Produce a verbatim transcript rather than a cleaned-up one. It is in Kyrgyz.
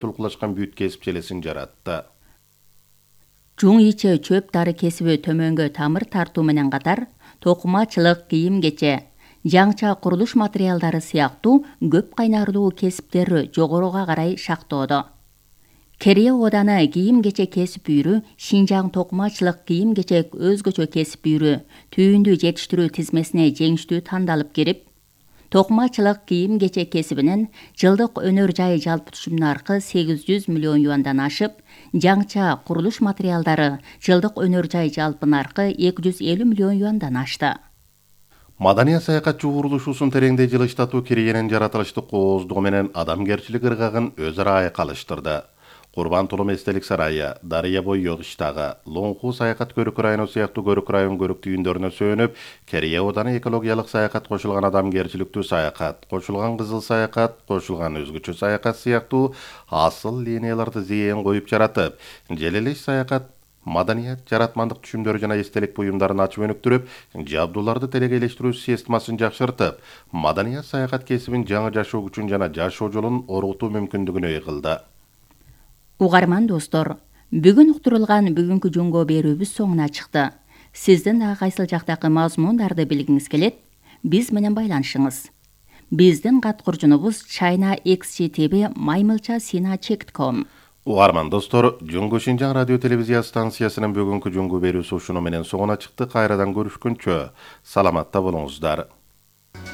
тулкулашкан бүт кесип желесин жаратты. Жуң иче чөп дары кесиби төмөнгө тамыр тартуу менен катар, токумачылык, кийим-кече, жаңча курулуш материалдары сыяктуу көп кайнарлуу кесиптер жогоруга карай шактоодо. Корея оданы кийим-кече кесип үйрү, Шинжаң токумачылык кийим-кечек өзгөчө кесип үйрү түйүндү жетиштирүү тизмесине жеңиштүү тандалып кирип, токумачылык кийим-кечек кесибинен жылдык өнөр жай жалпы түшүм наркы сегиз жүз миллион юандан ашып, жаңча курулуш материалдары жылдык өнөр жай жалпы наркы эки жүз элүү миллион юандан ашты. Маданият саякатчы курулушусун тереңдей жылыштатуу Кореянын жаратылыштык кооздугу менен адамгерчилик ыргагын өз ара айкалыштырды. Курбан Тулум эстелик сарайы, Дарыя бой Йогиштагы, Лоңху саякат көрүк району сыяктуу көрүк район көрүк түйүндөрүнө сөөнүп, Корея оданы экологиялык саякат, кошулган адамгерчиликтүү саякат, кошулган кызыл саякат, кошулган өзгөчө саякат сыяктуу асыл линияларды зээн коюп жаратып, желелеш саякат, маданият, жаратмандык түшүмдөрү жана эстелик буюмдарын ачып өнүктүрүп, жабдууларды телегейлештирүү системасын жакшыртып, маданият саякат кесибин жаңы жашоо күчүн жана жашоо жолун оргутуу мүмкүндүгүнө ээ кылды. Угарман достор, бүгүн уктурулган бүгүнкү жөнгө берүүбүз соңуна чыкты. Сиздин да кайсыл жактагы мазмундарды билгиңиз келет, биз менен байланышыңыз. Биздин кат куржунубуз china x c t v маймылча сина чек точка ком. Угарман достор, Жөнгө Шинжаң радио телевизия станциясынын бүгүнкү жөнгө берүүсү ушуну менен соңуна чыкты. Кайрадан көрүшкөнчө саламатта болуңуздар.